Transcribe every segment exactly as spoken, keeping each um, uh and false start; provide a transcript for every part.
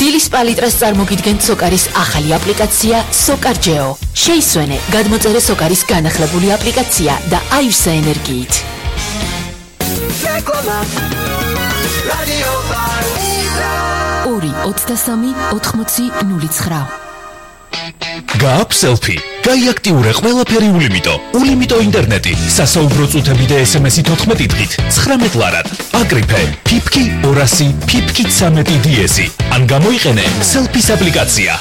დილის პალიტრას წარმოგიდგენთ სოკარის ახალი აპლიკაცია SocarGeo. შეისვენე, გადმოწერე სოკარის განახლებული აპლიკაცია და აივსე ენერგიით. ორი ოცდასამი ოთხმოცი ნული ცხრა. გააქვს სელფი. გაიაქტიურე ყველაფერი ულიმიტო. ულიმიტო ინტერნეტი, სასაუბრო წუთები და ესემესი თოთხმეტი დღით, ცხრამეტ ლარად. აკრიფე, ფიფკი ორასი, ფიფკი ცამეტი დიესი. ან გამოიყენე სელფის აპლიკაცია.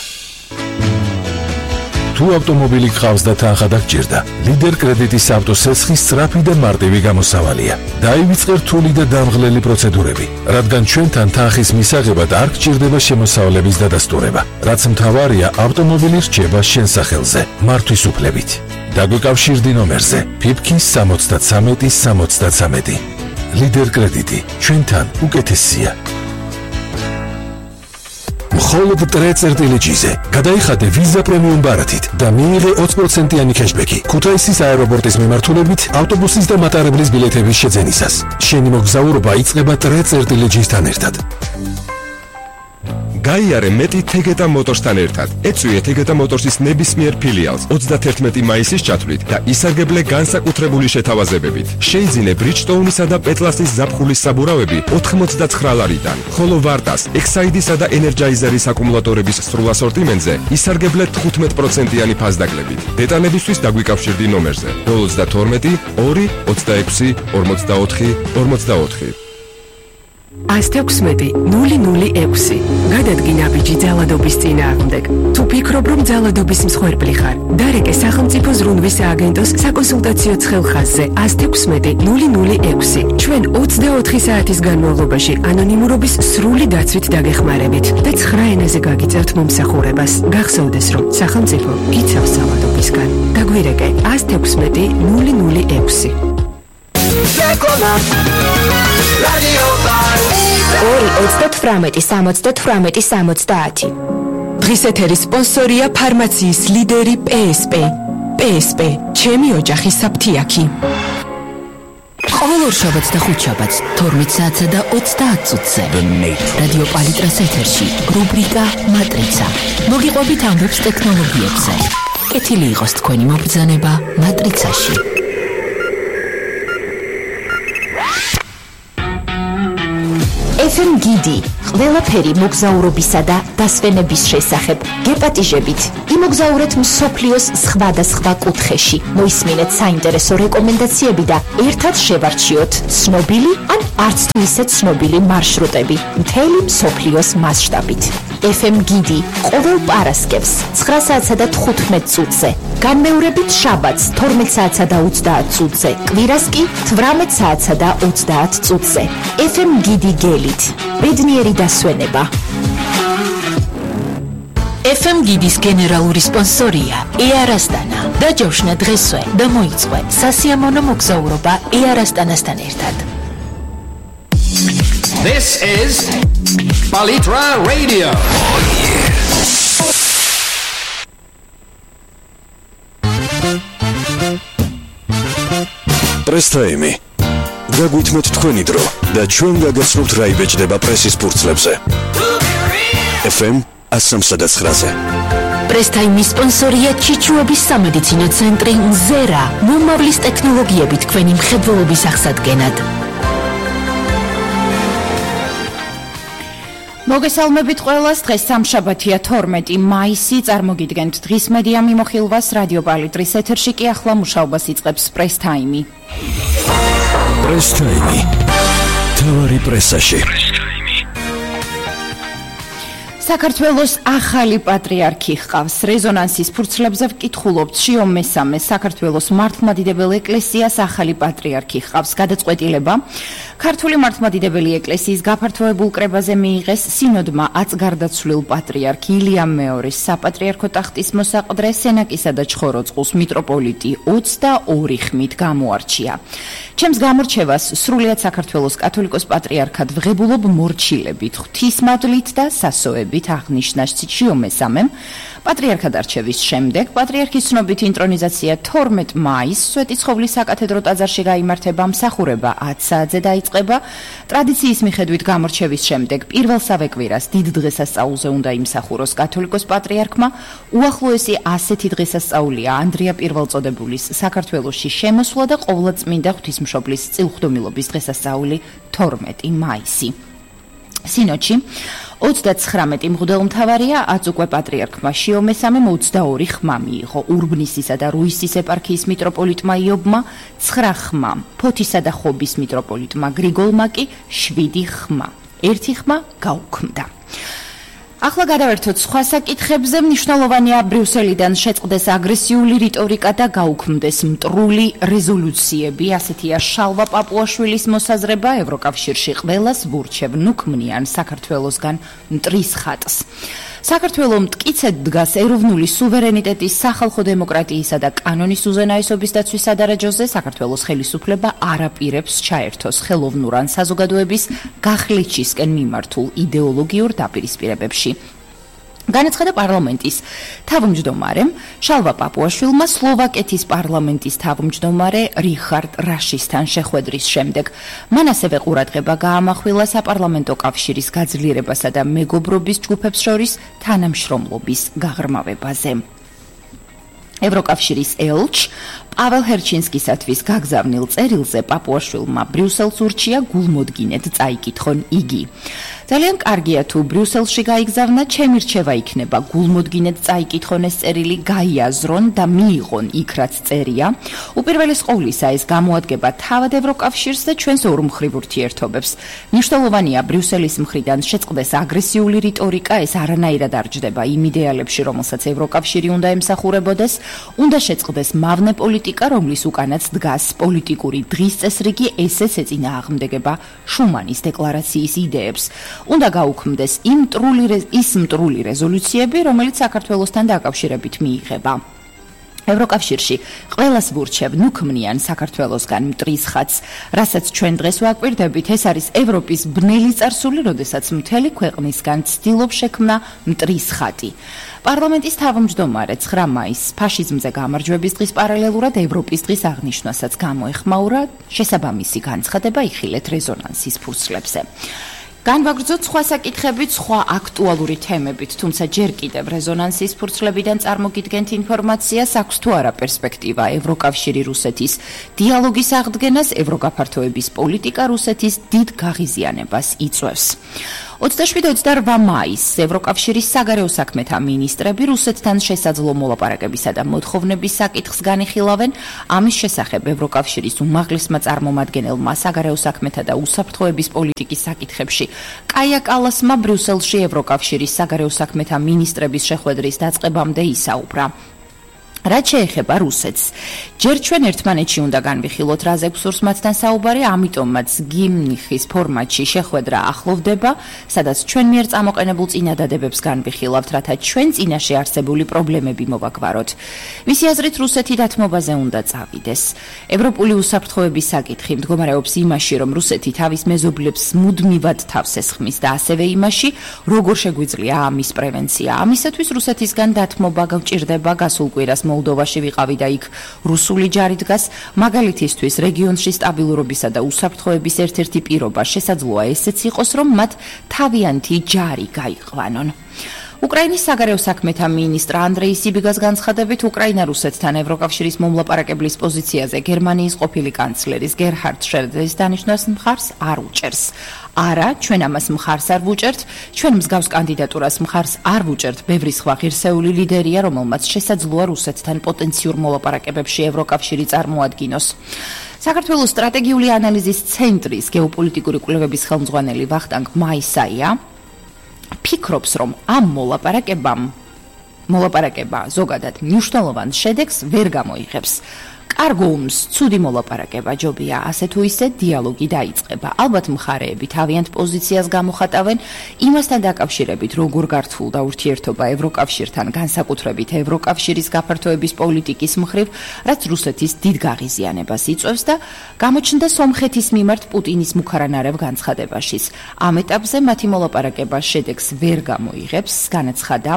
თუ ავტომობილი გყავს და თანხა დაგჭირდა, ლიდერ კრედიტის ავტოსესხის სწრაფი და მარტივი გამოსავალია. დაივიწყე რთული და დამღლელი პროცედურები, რადგან ჩვენთან თანხის მისაღებად არ გჭირდება შემოსავლების დადასტურება. რაც მთავარია, ავტომობილი რჩება შენ სახელზე, მართვის უფლებით. დაგვეკავშირდი ნომერზე ფიფკი სამოცდათსამეტი სამოცდათსამეტი. ლიდერ კრედიტი, ჩვენთან უკეთესია. მხოლოდ ტრეწერტილეჯიზე გადაიხადე ვიზა პრემიუმ ბარათით და მიიღე ოცი პროცენტიანი ქეშბექი ქუთაისის აეროპორტის მიმართულებით ავტობუსის და მატარებლის ბილეთების შეძენისას. შენი მოგზაურობა იწყება ტრეწერტილეჯისთან ერთად. გაიარე მეტი თეგეტა მოტორსთან ერთად. ეწვიე თეგეტა მოტორსის ნებისმიერ ფილიალს ოცდათერთმეტი მაისის ჩათვლით და ისარგებლე განსაკუთრებული შეთავაზებებით. შეიძინე ბრიჯტოუნისა და პეტლასის ზაფხულის საბურავები ოთხმოცდაცხრა ლარიდან, ხოლო ვარტას, ექსაიდისა და ენერჯაიზერის აკუმულატორების სრულ ასორტიმენტზე ისარგებლე თხუთმეტ პროცენტიანი ფასდაკლებით. დეტალებისთვის დაგვიკავშირდი ნომერზე ნულ ოცდათორმეტი ორი ოცდაექვსი ორმოცდაოთხი ორმოცდაოთხი. ასთექვსმეტი ნული ნული ექვსი. გადადგინა ბიჭი ძალადობის წინააღმდეგ. თუ ფიქრობ, რომ ძალადობის მსხვერპლი ხარ, დარეკე სახელმწიფო ზრუნვის სააგენტოს საკონსულტაციო ცხელხაზზე ასთექვსმეტი ნული ნული ექვსი. ჩვენ ოცდაოთხი საათის განმავლობაში ანონიმურობის სრული დაცვით დაგეხმარებით და ცხრა ენაზე გაგიწერთ მომსახურებას. გახსოვდეს, რომ სახელმწიფო გიცავს ძალადობისგან. დაგვირეკე ასთექვსმეტი ნული ნული ექვსი. ორი ოცდათვრამეტი სამოცდათვრამეტი სამოცდაათი. დღის ეთერის სპონსორია ფარმაციის ლიდერი პსპ. პსპ, ჩემი ოჯახის საფთიაქი. ყოველ ორშაბათს და ხუთშაბათს თორმეტ საათსა და ოცდაათ წუთზე რადიო პალიტრას ეთერში რუბრიკა მატრიცა. მოგიყვებით ამბებს ტექნოლოგიებზე. კეთილი იყოს თქვენი მობრძანება მატრიცაში. эф эм გიდი, ყველაფერი მოგზაურობისა და დასვენების შესახებ. გეპატიჟებით, იმოგზაურეთ მსოფლიოს სხვადასხვა კუთხეში. მოისმინეთ საინტერესო რეკომენდაციები და ერთად შევარჩიოთ ცნობილი ან არც თუ ისე ცნობილი მარშრუტები მთელი მსოფლიოს მასშტაბით. эф эм გიდი ყოველ პარასკევს ცხრა საათსა და თხუთმეტ წუთზე, განმეორებით შაბათს თორმეტ საათსა და ოცდაათ წუთზე, კვირას კი თვრამეტ საათსა და ოცდაათ წუთზე. эф эм გიდი გელით, ბედნიერი დასვენება. эф эм გიდის გენერალური სპონსორია Air Astana. დაჯავშნა დღესვე და მოიწყო სასიამოვნო მოგზაურობა Air Astana-სთან ერთად. This is Palitra Radio. Oh, yeah. Press time. გაგვითმოთ თქვენი დრო და ჩვენ გაგაცნობთ რა იბეჭდება პრესის ფურცლებზე. эф эм ასი ცხრაზე. პრესტაიმის სპონსორია ჩიჩუების სამედიცინო ცენტრი ზერა. მომავლის ტექნოლოგიები თქვენი მხედველობის აღსადგენად. მოგესალმებით ყველას. დღეს სამშაბათია თორმეტი მაისი. წარმოგიდგენთ დღის მედია მიმოხილვას რადიო პალიტრის ეთერში კი ახლა მუშაობას იწყებს პრეს ტაიმი. პრეს ტაიმი. თავარი პრესაში. საქართველოს ახალი პატრიარქი ჰყავს. რეზონანსის ფურცლებზე ვკითხულობთ. შიო მესამე საქართველოს მართლმადიდებელ ეკლესიას ახალი პატრიარქი ჰყავს. გადაწყვეტილება ქართული მართლმადიდებელი ეკლესიის გაფართოებულ კრებაზე მიიღეს სინოდმა აწგარდაცვლილ პატრიარქ ილიამ მეორის საპატრიარქო ტახტის მოსაყდრე სენაკისა და ჩხოროწყუს მიტროპოლიტი ოცდაორი ხმით გამოარჩია. ჩემს გამორჩევას სრულიად საქართველოს კათოლიკოს პატრიარქად ვღებულობ მორჩილებით, ღვთისმადლით და სასოებით აღნიშნა შიო მესამემ. პატრიარქად არჩევის შემდეგ პატრიარქის ცნობით ინტრონიზაცია თორმეტ მაისს სვეტიცხოვლის საკათედრო ტაძარში გაიმართება, მსახურება ათ საათზე დაიწყება. ტრადიციის მიხედვით გამორჩევის შემდეგ პირველსავე კვირას დიდ დღესასწაულზე უნდა იმსახუროს კათოლიკოს პატრიარქმა. უახლოესი ასეთი დღესასწაულია ანდრია პირველწოდებულის საქართველოში შემოსვლა და ყოვლადწმინდა ღვთისმშობლის წილხვდომილობის დღესასწაული თორმეტი მაისი. სინოდში ოცდაცხრამეტი მღვდელმთავარია, ათს უკვე პატრიარქმა შიო მესამე ოცდაორი ხმა მიიღო. ურბნისისა და რუისის ეპარქიის მიტროპოლიტმა იობმა ცხრა ხმა, ფოთისა და ხობის მიტროპოლიტმა გრიგოლმა კი შვიდი ხმა. ერთი ხმა გაუქმდა. ახლა გადავერთოთ სხვა საკითხებზე. მნიშვნელოვანია ბრიუსელიდან შეწყდეს აგრესიული რიტორიკა და გაუქმდეს მტრული რეზოლუციები. ასეთია შალვა პაპუაშვილის მოსაზრება. ევროკავშირში ყველას ვურჩევ ნუ ქმნიან საქართველოსგან მტრის ხატს. საქართველო მტკიცედ დგას ეროვნული სუვერენიტეტის, სახალხო დემოკრატიისა და კანონის უზენაესობის დაცვის სადარაჯოზე. საქართველოს ხელისუფლება არ აპირებს ჩაერთოს ხელოვნურ ან საზოგადოების გახლიჩისკენ მიმართულ იდეოლოგიურ დაპირისპირებებში. განაცხადა პარლამენტის თავმჯდომარემ შალვა პაპუაშვილმა სლოვაკეთის პარლამენტის თავმჯდომარე რიხარდ რაშისთან შეხვედრის შემდეგ. მან ასევე ყურადღება გაამახვილა საპარლამენტო კავშირის გაძლიერებასა და მეგობრობის ჯგუფებს შორის თანამშრომლობის გაღრმავებაზე. ევროკავშირის ელჩ პაվել ჰერჩინსკისათვის გაგზავნილ წერილზე პაპუაშვილმა ბრიუსელს ურჩია გულმოდგინედ წაიკითხონ იგი. ძალიან კარგია თუ ბრიუსელში გაიგზავნა, ჩემი რჩევა იქნება გულმოდგინედ წაიკითხონ ეს წერილი, გაიაზრონ და მიიღონ იქ რაც წერია. უპირველეს ყოვლისა ეს გამოადგება თავად ევროკავშირს და ჩვენს ორმხრივ ურთიერთობებს. მნიშვნელოვანია ბრიუსელის მხრიდან შეწყდეს აგრესიული რიტორიკა, ეს არანაირად არ ჯდება იმ იდეალებში, რომელსაც ევროკავშირი უნდა ემსახურებოდეს. უნდა შეწყდეს მავნე პოლიტიკა, რომლის უკანაც დგას პოლიტიკური დღის წესრიგი, ესეც ეწინააღმდეგება შუმანის დეკლარაციის იდეებს. უნდა გაუქმდეს იმ მტრული ის მტრული რეზოლუციები, რომელიც საქართველოსთან დაკავშირებით მიიღება. ევროკავშირში ყველას ვურჩევ ნუ ქმნიან საქართველოსგან მტრის ხატს, რასაც ჩვენ დღეს ვაკვირდებით, ეს არის ევროპის ბნელი წარსული, როდესაც მთელი ქვეყნისგან ცდილობს შექმნა მტრის ხატი. პარლამენტის თავმჯდომარე ცხრა მაისს ფაშიზმზე გამარჯვების დღის პარალელურად ევროპის დღის აღნიშვნასაც გამოეხმაურა, შესაბამისი განცხადება იხილეთ რეზონანსის ფურცლებზე. განვაგრძოთ სხვა საკითხებით, სხვა აქტუალური თემებით, თუმცა ჯერ კიდევ რეზონანსის ფურცლებიდან წარმოგიდგენთ ინფორმაციას, აქვს თუ არა პერსპექტივა ევროკავშირი რუსეთის დიალოგის აღდგენას, ევროგაფართოების პოლიტიკა რუსეთის დიდ გაღიზიანებას იწვევს. ოცდაშვიდ ოცდაორბა მაისს ევროკავშირის საგარეო საქმეთა მინისტრები რუსეთთან შესაძლო მოლაპარაკებისა და მოთხოვნების საკითხს განიხილავენ. ამის შესახებ ევროკავშირის უმაღლესმა წარმომადგენელმა საგარეო საქმეთა და უსაფრთხოების პოლიტიკის საკითხებში კაია კალასმა ბრიუსელში ევროკავშირის საგარეო საქმეთა მინისტრების შეხვედრის დაწყებამდე ისაუბრა. რაც შეეხება რუსეთს, ჯერ ჩვენ ერთმანეთში უნდა განვიხილოთ, რაზე გვსურს მათთან საუბარი, ამიტომაც გიმნიხის ფორმატში შეხვედრა ახლოვდება, სადაც ჩვენ მიერ წამოყენებულ წინადადებებს განვიხილავთ, რათა ჩვენ წინაშე არსებული პრობლემები მოვაგვაროთ. მისი აზრით, რუსეთი დათმობაზე უნდა წავიდეს. ევროპული უსაფრთხოების საკითხი მდგომარეობს იმაში, რომ რუსეთი თავის მეზობლებს მუდმივად თავს ესხმის და ასევე იმაში, როგორ შეგვიძლია ამის პრევენცია. ამისათვის რუსეთისგან დათმობა გვჭირდება. გასულ კვირას მოლდოვაში ვიყავი და იქ რუსული ჯარი დგას. მაგალითისთვის რეგიონში სტაბილურობისა და უსაფრთხოების ერთ-ერთი პირობა შესაძლოა ესეც იყოს, რომ მათ თავიანთი ჯარი გაიყვანონ. უკრაინის საგარეო საქმეთა მინისტრ ანდრეი სიბიგას განცხადებით, უკრაინა რუსეთთან ევროკავშირის მომლაპარაკებლის პოზიციაზე გერმანიის ყოფილი კანცლერის გერჰარდ შრედერის დანიშვნას მხარს არ უჭერს. არა, ჩვენ ამას მხარს არ ვუჭერთ, ჩვენ მსგავს კანდიდატურას მხარს არ ვუჭერთ. ბევრი სხვა ღირსეული ლიდერია, რომელმაც შესაძლოა რუსეთთან პოტენციურ მოლაპარაკებებში ევროკავშირი წარმოადგინოს. საქართველოს სტრატეგიული ანალიზის ცენტრის გეოპოლიტიკური კვლევების ხელმძღვანელი ვახტანგ მაისაია ფიქრობს, რომ ამ მოლაპარაკებამ მოლაპარაკება ზოგადად მნიშვნელოვან შედეგს ვერ გამოიღებს. კარგო ომს, ცუდი მოლაპარაკება ჯობია, ასე თუ ისე დიალოგი დაიწყება. ალბათ მხარეები თავიანთ პოზიციას გამოხატავენ იმასთან დაკავშირებით, როგორ გართულდა ურთიერთობა ევროკავშირთან, განსაკუთრებით ევროკავშირის გაფართოების პოლიტიკის მხრივ, რაც რუსეთის დიდ გაღიზიანებას იწვევს და გამოჩნდა სომხეთის მიმართ პუტინის მუქარანარევ განცხადებაშიც. ამ ეტაპზე მათი მოლაპარაკება შედეგს ვერ გამოიღებს, განაცხადა,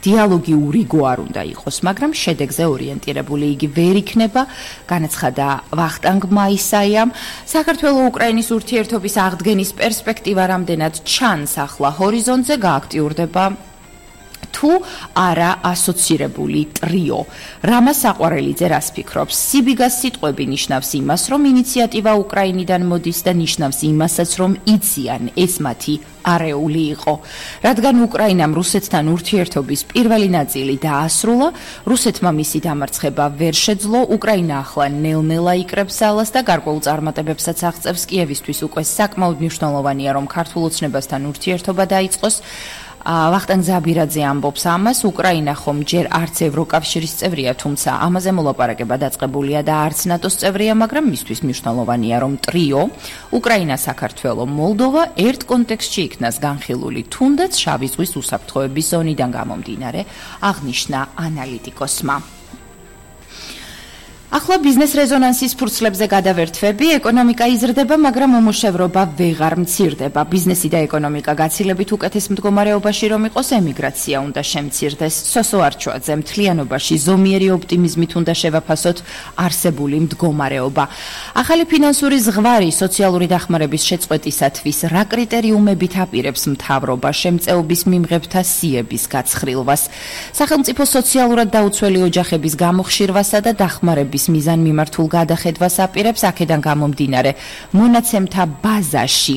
დიალოგი ურიგო არ უნდა იყოს, მაგრამ შედეგზე ორიენტირებული იგი ვერ იქნება. განაცხადა ვახტანგმა ისაიამ, საქართველოს უკრაინის ურთიერთობის აღდგენის პერსპექტივა რამდენად ჩანს ახლა ჰორიზონტზე, გააქტიურდება თუ არა ასოცირებული ტრიო. რამა საყვარელიძე რას ფიქრობს? სიბიგას სიტყვები ნიშნავს იმას, რომ ინიციატივა უკრაინიდან მოდის და ნიშნავს იმასაც, რომ იციან ეს მათი არეული იყო. რადგან უკრაინამ რუსეთთან ურთიერთობის პირველი ნაწილი დაასრულა, რუსეთმა მისი დამარცხება ვერ შეძლო, უკრაინა ახლა ნელ-ნელა იკრებს ძალას და გარკვეულ წარმატებებსაც აღწევს. კიევისთვის უკვე საკმაოდ მნიშვნელოვანია, რომ ქართულ ოცნებასთან ურთიერთობა დაიწყოს. ვახტანგ ზაბირაძე ამბობს ამას, უკრაინა ხომ ჯერ არც ევროკავშირის წევრია, თუმცა ამაზე მოლაპარაკება დაწყებულია და არც ნატოს წევრია, მაგრამ მისთვის მნიშვნელოვანია, რომ ტრიო, უკრაინა, საქართველო, მოლდოვა ერთ კონტექსტში იქნას განხილული, თუნდაც შავი ზღვის უსაფრთხოების ზონიდან გამომდინარე, აღნიშნა ანალიტიკოსმა. ახლა ბიზნეს რეზონანსის ფურცლებზე გადავერთვები, ეკონომიკა იზრდება, მაგრამ უმუშევრობა ვეღარ მცირდება. ბიზნესი და ეკონომიკა გაცილებით უკეთეს მდგომარეობაში რომ იყოს, ემიგრაცია უნდა შემცირდეს. სოსო არჩვაძე, მთლიანობაში ზომიერი ოპტიმიზმით უნდა შევაფასოთ არსებული მდგომარეობა. ახალი ფინანსური ზღვარი სოციალური დახმარების შეწყვეტისათვის რა კრიტერიუმებით აპირებს მთავრობა შემწეობის მიმღებთა სიების გაცხრილვას, სახელმწიფო სოციალურად დაუცველი ოჯახების გამოხშირვასა და დახმარების მიზან მიმართულ გადახედვას აპირებს, აქედან გამომდინარე მონაცემთა ბაზაში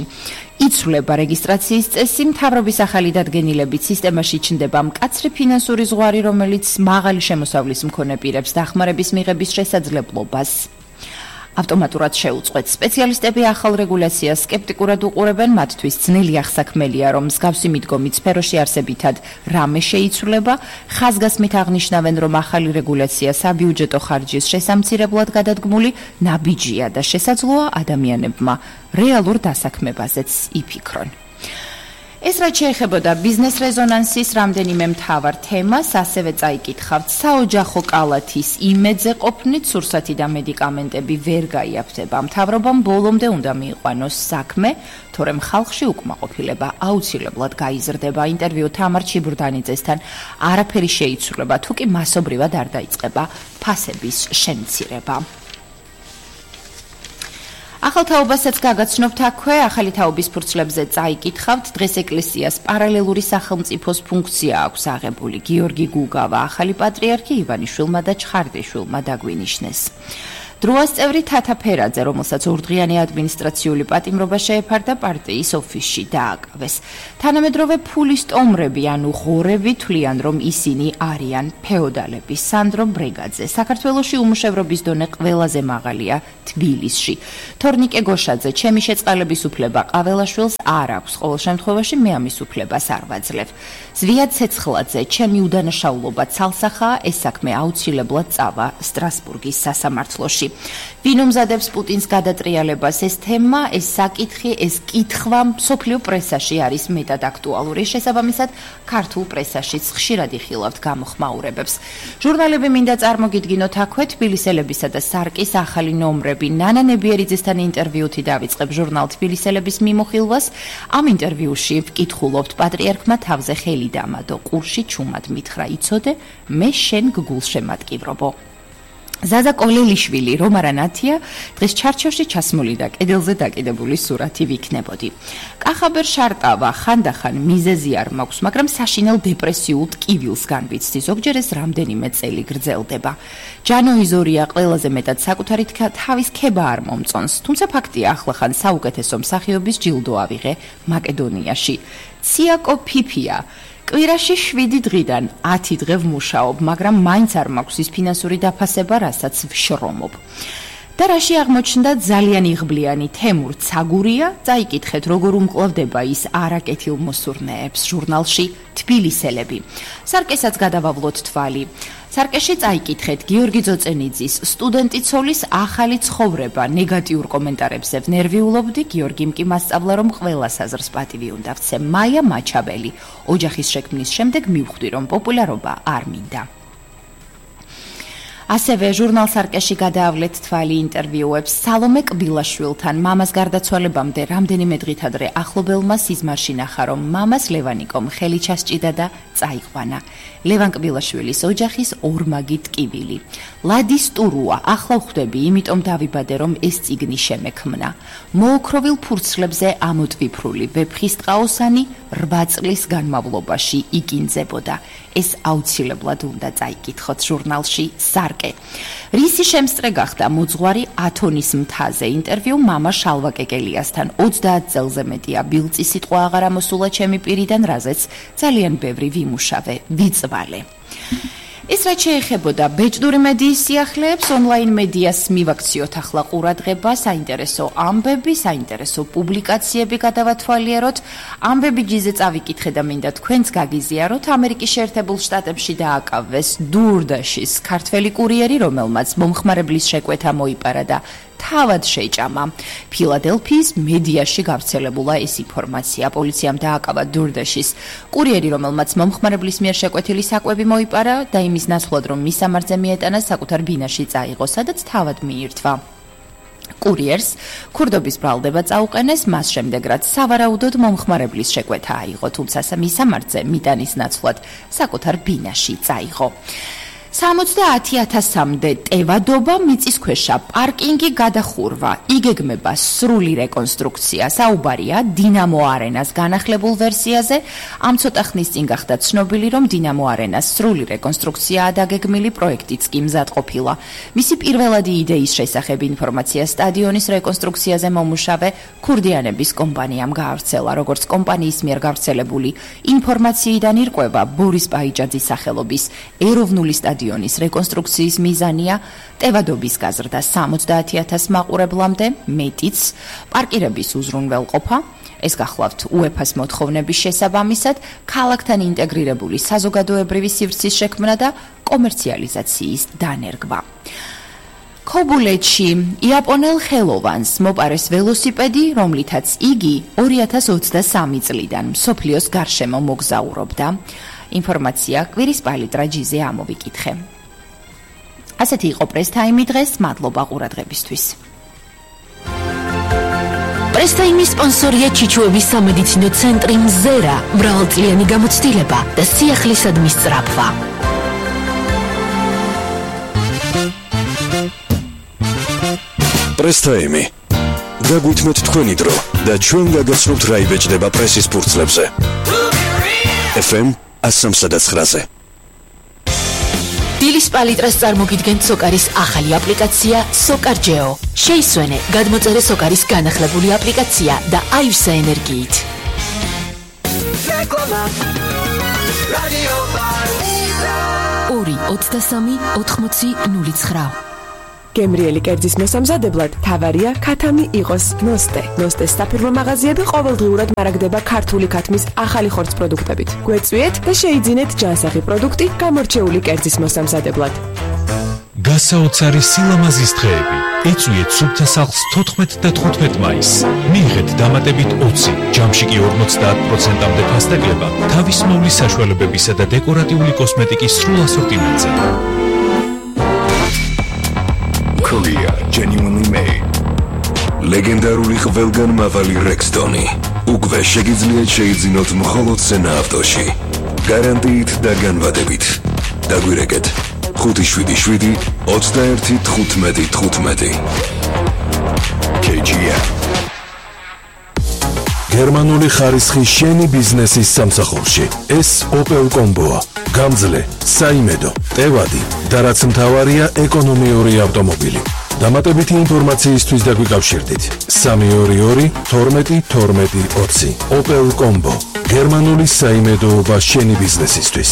იცვლება რეგისტრაციის წესი, მთავრობის ახალი დადგენილებით სისტემაში ჩნდება მკაცრი ფინანსური ზღვარი, რომელიც მაღალი შემოსავლის მქონე პირებს დახმარების მიღების შესაძლებლობას ავტომატურად შეუწყვეტს. სპეციალისტები ახალ რეგულაციას სკეპტიკურად უყურებენ, მათთვის ძნელი აღსაქმელია, რომ მსგავსი მიდგომით სფეროში არსებითად რამე შეიცვლება. ხაზგასმით აღნიშნავენ, რომ ახალი რეგულაცია საბიუჯეტო ხარჯის შესამცირებლად გადადგმული ნაბიჯია და შესაძლოა ადამიანებმა რეალურ დასაქმებაზეც იფიქრონ. ეს რაც შეეხებოდა ბიზნეს რეზონანსის რამდენიმე მთავარ თემას, ასევე წაიკითხავთ საოჯახო კალათის იმედზე ყოფნით, სურსათი და მედიკამენტები ვერ გაიაფთება. მთავრობამ ბოლომდე უნდა მიიყვანოს საქმე, თორემ ხალხში უკმაყოფილება აუცილებლად გაიზრდება. ინტერვიუ თამარ ჩიბურდანიძესთან არაფერი შეიცვლება, თუ კი მასობრივად არ დაიწყება ფასების შემცირება. ახალ თაობასაც გაგაცნობთ აქვე, ახალი თაობის ფურცლებზე წაიკითხავთ, დღეს ეკლესიას პარალელური სახელმწიფოს ფუნქცია აქვს აღებული. გიორგი გუგავა ახალი პატრიარქი ივანიშვილმა და ჩხარდიშვილმა დაგვინიშნეს. დროას წევრი თათა ფერაძე, რომელსაც ორდღიანი ადმინისტრაციული პატიმრობა შეეფარდა, პარტიის ოფისში დააკავეს. თანამედროვე ფულის ტომრები, ანუ ღორები, თვლიან, რომ ისინი არიან ფეოდალები. სანდრო ბრეგაძე, საქართველოში უმუშევრობის დონე ყველაზე მაღალია თბილისში. თორნიკე გოშაძე, ჩემი შეწყალების უფლება ყაველაშვილს არ აქვს, ყოველ შემთხვევაში მე ამის უფლებას არ ვაძლევ. ზვია ცეცხლაძე, ჩემი უდანაშაულობა ცალსახაა, ეს საქმე აუცილებლად წავა სტრასბურგის სასამართლოში. ვინ უმზადებს პუტინს გადატრიალებას, ეს თემა, ეს საკითხი, ეს კითხვა მსოფლიო პრესაში არის მეტად აქტუალური. შესაბამისად, ქართულ პრესაშიც ხშირად იხილავთ გამოხმაურებებს. ჟურნალები მინდა წარმოგიდგინოთ აქვე, თბილისელებისა და სარკის ახალი ნომრები. ნანა ნებიერიძესთან ინტერვიუთი დავიწყებ ჟურნალ თბილისელების მიმოხილვას. ამ ინტერვიუში ვკითხულობთ, პატრიარქმა თავზე ხელი დამადო, ყურში ჩუმად მითხრა, იცოდე, მე შენ გგულ შემატკივრობო. ზაზა კოლელიშვილი, რომარა ნათია, დღეს ჩარჩოში ჩასმული და კედელზე დაკიდებული სურათი ვიქნებოდი. კახაბერ შარტავა, ხანდახან მიზეზი არ მაქვს, მაგრამ საშინელ დეპრესიულ ტკივილს განვიცდი, ზოგჯერ ეს რამდენიმე წელი გრძელდება. ჯანოიზორია ყველაზე მეტად საკუთარი თავის ქება არ მომწონს, თუმცა ფაქტია, ახლახან საუკეთესო მსახიობის ჯილდო ავიღე მაკედონიაში. ციაკო ფიფია კვირაში შვიდი დღიდან ათი დღე ვმუშაობ, მაგრამ მაინც არ მაქვს ის ფინანსური დაფასება, რასაც ვშრომობ. და რაში აღმოჩნდა ძალიან იღბლიანი თემურ ცაგურია, წაიკითხეთ როგორ უმკლავდება ის არაკეთილმოსურნეებს ჟურნალში თბილისელები. სარკესაც გადავავლოთ თვალი. სარკეში წაიკითხეთ გიორგი ძოწენიძის სტუდენტი ცოლის ახალი ცხოვრება ნეგატიურ კომენტარებზე ვნერვიულობდი, გიორგიმ კი მასწავლა რომ ყველა საზრს პატივი უნდა ვცე. მაია მაჩაბელი ოჯახის შექმნის შემდეგ მივხვდი რომ პოპულარობა არ მინდა. ასევე ჟურნალ სარკეში გადაავლეთ თვალი ინტერვიუებს სალომე კბილაშვილთან. მამას გარდაცვალებამდე რამდენიმე დღით ადრე ახლობელმა სიზმარში ნახა რომ მამას ლევანიკომ ხელი ჩასჭიდა და წაიყვანა. ლევან კბილაშვილის ოჯახის ორმაგი ტკივილი. ლადის ტურუა, ახლა ვხვდები, იმიტომ დავიბადე რომ ეს წიგნი შემექმნა. მოოქროვილ ფურცლებზე ამოტვიფრული ვეფხისტყაოსანი რვა წლის განმავლობაში იგინძებოდა. ეს აუცილებლად უნდა წაიკითხოთ ჟურნალში სარკე. რისი შემსწრე გახდა მოძღვარი ათონის მთაზე ინტერვიუ მამა შალვა კეკელიასთან. ოცდაათ წელზე მეტია ბილწი სიტყვა აღარ ამოსულა ჩემი პირიდან, რაზეც ძალიან ბევრი ვიმუშავე, ვიწვალე. ეს რაც შეეხებოდა ბეჭდური მედიის სიახლეებს, ონლაინ მედიას მივაქციოთ ახლა ყურადღება, საინტერესო ამბები, საინტერესო პუბლიკაციები გადავათვალიეროთ. ამბები ჯიზე წავიკითხე და მინდა თქვენც გაგიზიაროთ. ამერიკის შეერთებულ შტატებში დააკავეს დურდაშის ქართველი კურიერი, რომელმაც მომხმარებლის შეკვეთა მოიპარა და თავად შეჭამა. ფილადელფიის მედიაში გავრცელებულა ეს ინფორმაცია. პოლიციამ დააკავა დურდაშის კურიერი, რომელმაც მომხმარებლის მიერ შეკვეთილი საკვები მოიპარა და იმის ნაცვლად რომ მისამართზე მიეტანა საკუთარ ბინაში წაიღო, სადაც თავად მიირთვა. კურიერს ქურდობის ბრალდება წაუყენეს, მას შემდეგ რაც სავარაუდოდ მომხმარებლის შეკვეთა აიღო, თუმცა მისამართზე მიტანის ნაცვლად საკუთარ ბინაში წაიღო. სამოცდაათი ათასამდე ტევადობა, მიწისქვეშა პარკინგი გადახურვა, იგეგმება სრული რეკონსტრუქცია. საუბარია დინამო არენას განახლებულ ვერსიაზე. ამ ცოტა ხნის წინ გახდა ცნობილი, რომ დინამო არენას სრული რეკონსტრუქციაა დაგეგმილი, პროექტიც კი მზად ყოფილა. მისი პირველადი იდეის შესახებ ინფორმაცია სტადიონის რეკონსტრუქციაზე მომუშავე ქურდიანების კომპანიამ გაავრცელა. როგორც კომპანიის მიერ გავრცელებული ინფორმაციიდან ირკვევა, ბორის პაიჭაძის სახელობის ეროვნული სტადიონი სტადიონის რეკონსტრუქციის მიზანია ტევადობის გაზრდა სამოცდაათი ათას მაყურებლამდე, მეტიც პარკირების უზრუნველყოფა. ეს გახლავთ უეფას მოთხოვნების შესაბამისად, ქალაქთან ინტეგრირებული საზოგადოებრივი სივრცის შექმნა და კომერციალიზაციის დანერგვა. ქობულეთში იაპონელ ხელოვანს მოპარეს ველოსიპედი, რომლითაც იგი ორი ათას ოცდასამი წლიდან მსოფლიოს გარშემო მოგზაურობდა. ინფორმაცია კვირის პალიტრაჯიზე ამოვიკითხე. ასეთი იყო პრესტაიმი დღეს, მადლობა ყურადღებისთვის. პრესტაიმის სპონსორია ჩიჩუების სამედიცინო ცენტრი მზერა, მრავალწლიანი გამოცდილება და სიახლისადმი სწრაფვა. პრესტაიმი. დაგვითმეთ თქვენი დრო და ჩვენ გაგაცნობთ რა იბეჭდება პრესის ფურცლებზე. ეფ ემ ასამსადაცხრაზე. დილის პალიტრას წარმოგიდგენთ სოკარის ახალი აპლიკაცია სოკარჯეო. შეისვენე, გადმოწერე სოკარის განახლებული აპლიკაცია და აივსე ენერგიით. ორი ოცდასამი ოთხმოცი ნული ცხრა. გემრიელი კერძის მოსამზადებლად თავარია ქათამი იყოს ნოსტე. ნოსტეს საფირმო მაღაზიები ყოველდღიურად მარაგდება ქართული ქათმის ახალი ხორცს პროდუქტებით. გვეწვიეთ და შეიძინეთ ჯანსაღი პროდუქტი გამორჩეული კერძის მოსამზადებლად. გასაოცარი სილამაზის დღეები. ეწვიეთ სუფთა სახლს თოთხმეტ და თხუთმეტ მაისს. მიიღეთ დამატებით ოცი, ჯამში კი ორმოცდაათ პროცენტამდე ფასდაკლება თავის მოვლის საშუალებებისა და დეკორატიული კოსმეტიკის სრულ ასორტიმენტზე. Korea genuinely made. ლეგენდარული ყველგანმავალი Rexton-ი. უკვე შეგიძლიათ შეიძინოთ მხოლოდ სენა ავტოში. გარანტიით და განვადებით. დაგვირეკეთ ხუთი შვიდი შვიდი ოცდაერთი თხუთმეტი თხუთმეტი. კეი ჯი ემ. გერმანული ხარისხი შენი ბიზნესის სამსახურში. ეს Opel Combo-ა. გამძლე, საიმედო, ტევადი და რაც მთავარია ეკონომიური ავტომობილი. დამატებითი ინფორმაციისთვის დაგვიკავშირდით. სამი ორი ორი თორმეტი თორმეტი ოცი. Opel Combo. გერმანული საიმედოობა შენი ბიზნესისთვის.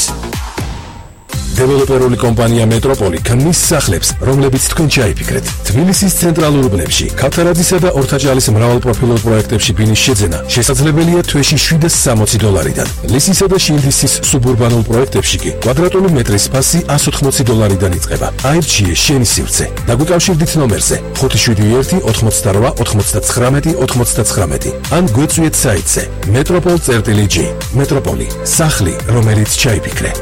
დეველოპერული კომპანია მეტროპოლი ქმნის სახლებს, რომლებიც თქვენ ჩაიფიქრეთ. თბილისის ცენტრალურ უბნებში, ქავთარაძისა და ორთაჭალის მრავალპროფილურ პროექტებში ბინის შეძენა შესაძლებელია თვეში შვიდას სამოცი დოლარიდან. ლისისა და შინდისის სუბურბანულ პროექტებში კი კვადრატული მეტრის ფასი εκατს ოთხმოცი დოლარიდან იწყება. აირჩიე შენი სივრცე. დაგვიკავშირდით ნომერზე ხუთი შვიდი ერთი ოთხმოცდარვა ოცდათხრამეტი ოცდათხრამეტი ან გვეწვიეთ საიტზე metropol წერტილი ჯი. მეტროპოლი, სახლი, რომელიც ჩაიფიქრე.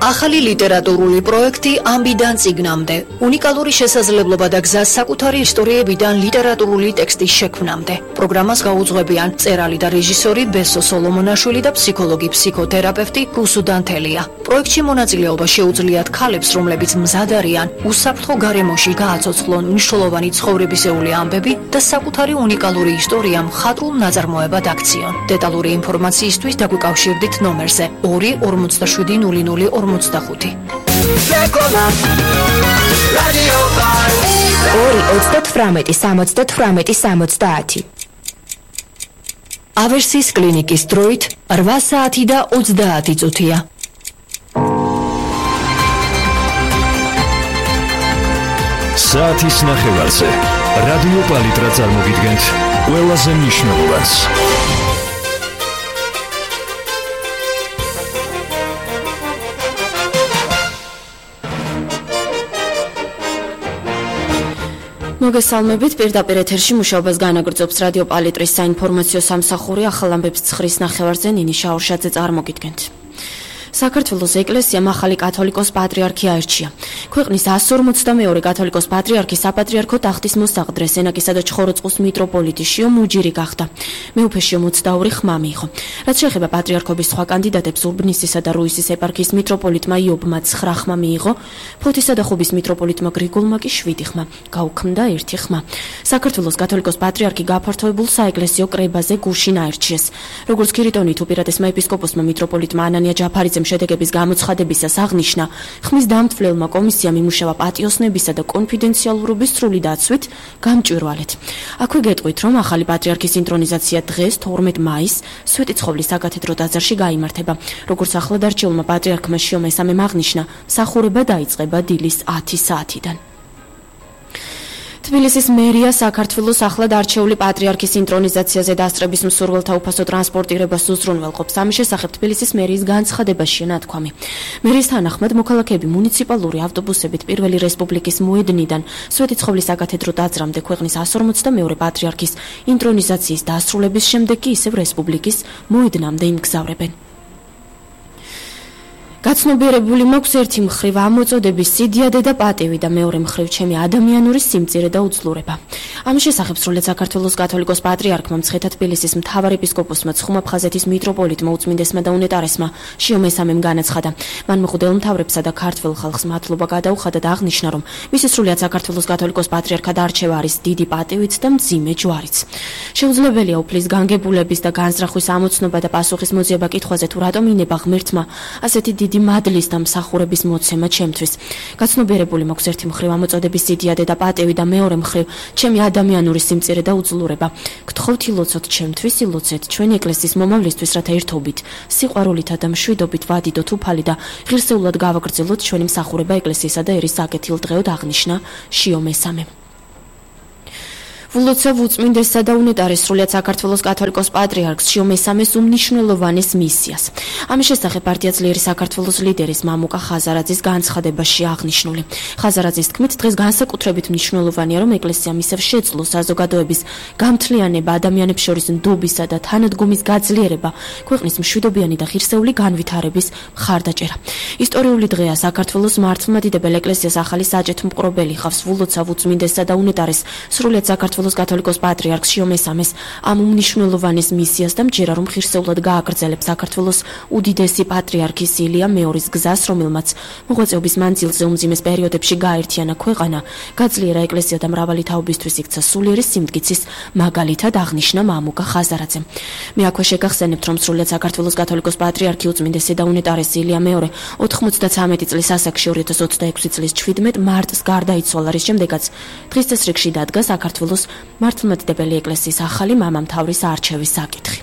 ახალი ლიტერატურული პროექტი ამბიდან წიგნამდე. უნიკალური შესაძლებლობა და გზა საკუთარი ისტორიებიდან ლიტერატურული ტექსტის შექმნამდე. პროგრამას გაუძღვებიან მწერალი და რეჟისორი ბესო სოლომონაშვილი და ფსიქოლოგი ფსიქოთერაპევტი გუსუ დანთელია. პროექტში მონაწილეობა შეუძლიათ ქალებს, რომლებიც მზად არიან უსაფრთხო გარემოში გააცოცხლონ მნიშვნელოვანი ცხოვრებისეული ამბები და საკუთარი უნიკალური ისტორია მხატვრულ ნაწარმოებად აქციონ. დეტალური ინფორმაციისთვის დაგვიკავშირდით ნომერზე ორი ორმოცდაშვიდი ნული ნული ორმოცდახუთი. ორი ოცდათვრამეტი სამოცდათვრამეტი სამოცდაათი. ავერსის კლინიკის დროით რვა საათი და ოცდაათი წუთია. საათის ნახევარზე რადიო პალიტრა წარმოგიდგენთ ყველაზე მნიშვნელოვანს. მოგესალმებით, პირდაპირ ეთერში მუშაობას განაგრძობს რადიო პალიტრის საინფორმაციო სამსახური. ახალ ამბებს ცხრის ნახევარზე ნინი შაურშაძე წარმოგიდგენთ. საქართველოს ეკლესიამ ახალი კათოლიკოს პატრიარქი აირჩია. ქვეყნის εκατს ორმოცდამეორე კათოლიკოს პატრიარქი საპატრიარქო ტახტის მოსაყდრე სენაკისა და ჩხოროწყუს მიტროპოლიტი შიო მუჯირი გახდა. მეუფე შიო ოცდაორი ხმა მიიღო. რაც შეეხება პატრიარქობის სხვა კანდიდატებს, ურბნისისა და რუისის ეპარქიის მიტროპოლიტმა იობმა ცხრა ხმა მიიღო, ფოთისა და ხუბის მიტროპოლიტმა გრიგოლმა კი შვიდი ხმა, გაუქმდა ერთი ხმა. საქართველოს კათოლიკოს პატრიარქი გაფართოებულ საეკლესიო კრებაზე გუშინ აირჩიეს. როგორც ქირიტონით უპირატესმა ეპისკოპოსმა მიტროპოლიტმა ანანია ჯაფარიძემ შედეგების გამოცხადებისას აღნიშნა, ხმის დამთვლელმა კომისიამ იმუშავა პატიოსნებისა და კონფიდენციალურობის სრული დაცვით გამჭვირვალეთ. აქვე გეტყვით, რომ ახალი პატრიარქის ინტრონიზაცია დღეს თორმეტ მაისს სვეტიცხოვლის საკათედრო ტაძარში გაიმართება. როგორც ახლად არჩეულმა პატრიარქმა შიო მესამემ აღნიშნა, მსახურება დაიწყება დილის ათი საათიდან. თბილისის მერია საქართველოს ახლად არჩეული პატრიარქის ინტრონიზაციაზე დასწრების მსურველთა უფასო ტრანსპორტირებას უზრუნველყოფს. ამის შესახებ თბილისის მერიის განცხადებაშია ნათქვამი. მერიის თანახმად მოქალაქეები მუნიციპალური ავტობუსებით პირველი რესპუბლიკის მოედნიდან სვეტიცხოვლის საკათედრო ტაძრამდე ქვეყნის εκατს ორმოცდამეორე პატრიარქის ინტრონიზაციის დასრულების შემდეგ კი ისევ რესპუბლიკის მოედნამდე იმგზავრებენ. გაცნობიერებული მაქვს ერთი მხრივ ამოწოდების სიდიადე და პატივი და მეორე მხრივ ჩემი ადამიანური სიმწირე და უძლურება. ამის შესახებ სრულად საქართველოს კათოლიკოს პატრიარქმა მცხეთა თბილისის მთავარ ეპისკოპოსმა ცხუმაფხაზეთის მიტროპოლიტმა უწმინდესმა და უნეტარესმა შიო მესამემ განაცხადა. მან მღვდელ მთავრებსა და ქართველ ხალხს მადლობა გადაუხადა და აღნიშნა, რომ მისი სრულად საქართველოს კათოლიკოს პატრიარქად არჩევა არის დიდი პატივით და მძიმე ჯვარიც. შეუძლებელია უფლის განგებულების და განზრახვის ამოცნობა და პასუხის მოძიება კითხვაზე თუ რატომ ინება ღმერთმა ასეთი დიდი მადლის და მსახურების მოცემა ჩემთვის. გაცნობიერებული მაქვს ერთი მხრივ ამოწოდების სიდიადე და პატივი და მეორე მხრივ ჩემი ადამიანური სიმწირე და უძლურება. გთხოვთ ილოცოთ ჩემთვის, ილოცეთ ჩვენი ეკლესიის მომავლისთვის, რათა ერთობით, სიყვარულითა და მშვიდობით ვადიდოთ უფალი და ღირსეულად გავაგრძელოთ ჩვენი მსახურება ეკლესიისა და ერის საკეთილდღეოდ, აღნიშნა შიო მესამემ. ვულოცავ უწმინდესსა და უნეტარეს სრულად საქართველოს კათოლიკოს პატრიარქს შიო მესამეს უმნიშვნელოვანეს მისიას. ამის შესახებ პარტია ძლიერი საქართველოს ლიდერის მამუკა ხაზარაძის განცხადებაში აღნიშნული. ხაზარაძის თქმით, დღეს განსაკუთრებით მნიშვნელოვანია, რომ ეკლესიამ ისევ შეძლოს საზოგადოების გამთლიანება, ადამიანებს შორის ნდობისა და თანადგომის გაძლიერება, ქვეყნის მშვიდობიანი და ღირსეული განვითარების მხარდაჭერა. ისტორიული დღეა საქართველოს მართლმადიდებელ ეკლესიას ახალი საჭეთ მპყრობელი ხავს. ვულოცავ უწმინდესსა და უნეტარეს სრულად საქართველოს კათოლიკოს პატრიარქს შიო მესამეს ამ უმნიშვნელოვანეს მისიას და მჯერა, რომ ღირსეულად გააგრძელებს საქართველოს უდიდესი პატრიარქის ილია მეორის გზას, რომელმაც მოღვაწეობის მანძილზე უმძიმეს პერიოდებში გააერთიანა ქვეყანა, გაძლიერა ეკლესია და მრავალი თაობისთვის იქცა სულიერი სიმტკიცის მაგალითად, აღნიშნა მამუკა ხაზარაძემ. მე აქვე შეგახსენებთ, რომ სრულად საქართველოს კათოლიკოს პატრიარქი უწმინდესი და უნეტარესი ილია მეორე ოთხმოცდათვრამეტი წლის ასაკში ორი ათას ოცდაექვსი წლის ჩვიდმეტ მარტს გარდაიცვალა, რის შემდეგაც დღის წესრიგში დადგა საქართველოს მართლმადიდებელი ეკლესიის ახალი მამამთავრის არჩევის საკითხი.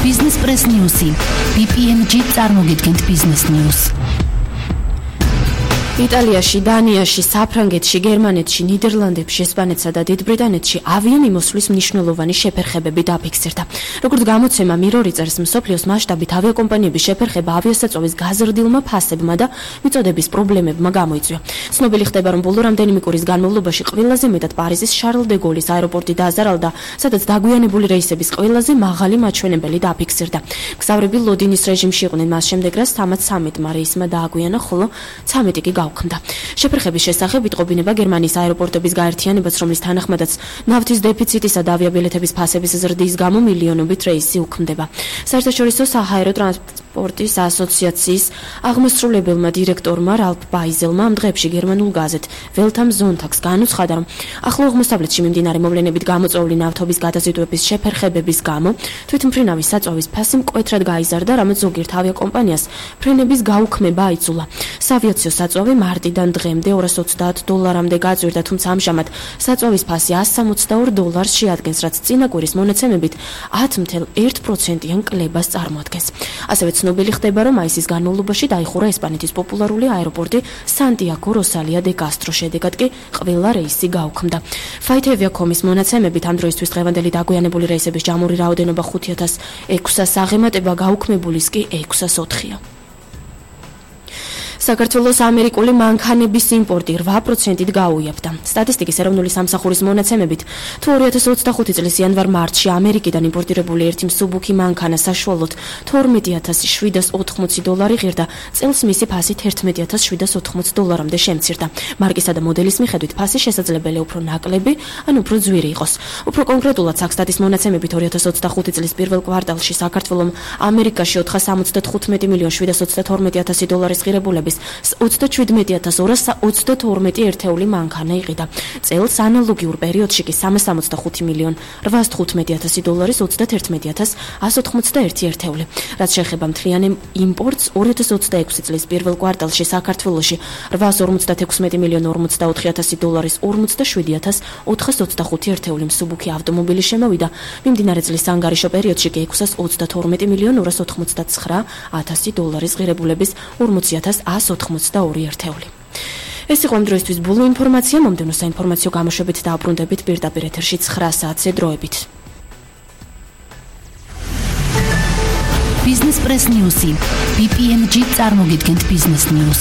Business Press News-ი. ბი პი ემ ჯი წარმოგიდგენთ Business News. იტალიაში, დანიაში, საფრანგეთში, გერმანეთში, ნიდერლანდებში, ესპანეთსა და დიდ ბრიტანეთში ავიამიმოსვლის მნიშვნელოვანი შეფერხებები დაფიქსირდა. როგორც გამოცემა მირორი წერს, მსოფლიოს მასშტაბით ავიაკომპანიების შეფერხება ავიასაწვავის გაზრდილმა ფასებმა და მიწოდების პრობლემებმა გამოიწვია. ცნობილი ხდება, რომ ბოლო რამდენიმე კვირის განმავლობაში ყველაზე მეტად პარიზის შარლ დე გოლის აეროპორტი დააზარალდა, სადაც დაგვიანებული რეისების ყველაზე მაღალი მაჩვენებელი დაფიქსირდა. მგზავრები ლოდინის რეჟიმში იყვნენ, მას შემდეგ რაც თამაც ცამეტმა რეისმა დააგვიანა, ხოლო ცამეტი კი გავხმდა. შეფერხების შესახებ იტყობინება გერმანიის აეროპორტების გაერთიანებას, რომლის თანახმადაც ნავთის დეფიციტისა და ავიაბილეთების ფასების ზრდის გამო მილიონობით რეისი უქმდება. საერთაშორისო საჰაერო ტრანსპორტის ასოციაციის აღმასრულებელმა დირექტორმა რალფ ბაიზელმა ამ დღეებში გერმანულ გაზეთ Welt am Sonntag-ს განუცხადა, რომ ახლო აღმოსავლეთში მიმდინარე მოვლენებით გამოწვეული ნავთობის გადაზიდვების შეფერხებების გამო თვითმფრინავის საწვავის ფასი მკვეთრად გაიზარდა, რამაც ზოგიერთ ავიაკომპანიას ფრენების გაუქმება აიძულა. საავიაციო საწვავი მარტიდან დღემდე ორას ოცდაათ დოლარამდე გაწვირდა, თუმცა ამჟამად საწვავის ფასი ასს სამოცდაორ დოლარს შეადგენს, რაც წინა კვირის მონაცემებით ათი ფაصლ ერთი პროცენტიან კლებას წარმოადგენს. ასევე ცნობილი ხდება, რომ მაისის განმავლობაში დაიხურა ესპანეთის პოპულარული აეროპორტი სანტიაგო როსალია დე კასტრო, შედეგად კი ყველა რეისი გაუქმდა. Flightavia.com-ის მონაცემებით ამ დროისთვის დღევანდელი დაგვიანებული რეისების ჯამური რაოდენობა ხუთი ათას ექვსას აღემატება, გაუქმებულის კი ექვსას ოთხია. საქართველოს ამერიკული მანქანების იმპორტი რვა პროცენტით გაუიაფდა. სტატისტიკის ეროვნული სამსახურის მონაცემებით, თუ ორი ათას ოცდახუთი წლის იანვარ-მარტში ამერიკიდან იმპორტირებული ერთი მსუბუქი მანქანა საშუალოდ თორმეტი ათას შვიდას ოთხმოცი დოლარი ღირდა, წელს მისი ფასი თერთმეტი ათას შვიდას ოთხმოცი დოლარამდე შემცირდა. მარკისა და მოდელის მიხედვით ფასი შესაძლებელია უფრო ნაკლები, ან უფრო ძვირი იყოს. უფრო კონკრეტულად, საქსტატის მონაცემებით ორი ათას ოცდახუთი წლის პირველ კვარტალში საქართველომ ამერიკაში ოთხას ორმოცდათხუთმეტი მილიონ შვიდას ოცდათორმეტი ათასი დოლარის ღირებულების ოცდაჩვიდმეტი ათას ორას ოცდათორმეტი ერთეული მანქანა იყიდა. წელს ანალოგიურ პერიოდში კი სამას ორმოცდახუთი მილიონ რვას თხუთმეტი ათასი დოლარის ოცდათერთმეტი ათას ასს ოთხმოცდაერთი ერთეული. რაც შეეხება მთლიან იმპორტს, ორი ათას ოცდაექვსი წლის პირველ კვარტალში საქართველოში რვას ორმოცდათექვსმეტი მილიონ ორმოცდაოთხი ათასი დოლარის ორმოცდაშვიდი ათას ოთხას ოცდახუთი ერთეული მსუბუქი ავტომობილი შემოვიდა. მიმდინარე წლის ანგარიშო პერიოდში კი ექვსას ოცდათორმეტი მილიონ ორას ოთხმოცდაცხრა ათასი დოლარის ღირებულების ორმოცი ათას ასს ოთხმოცდაორი ერთეული. ეს იყო ამ დროისთვის ბოლო ინფორმაცია. მომდევნო საინფორმაციო გამოშვებით დაუბრუნდებით პირდაპირ ეთერში ცხრა საათზე დროებით. Business Press News-ი. ბი პი ემ ჯი წარმოგიდგენთ Business News.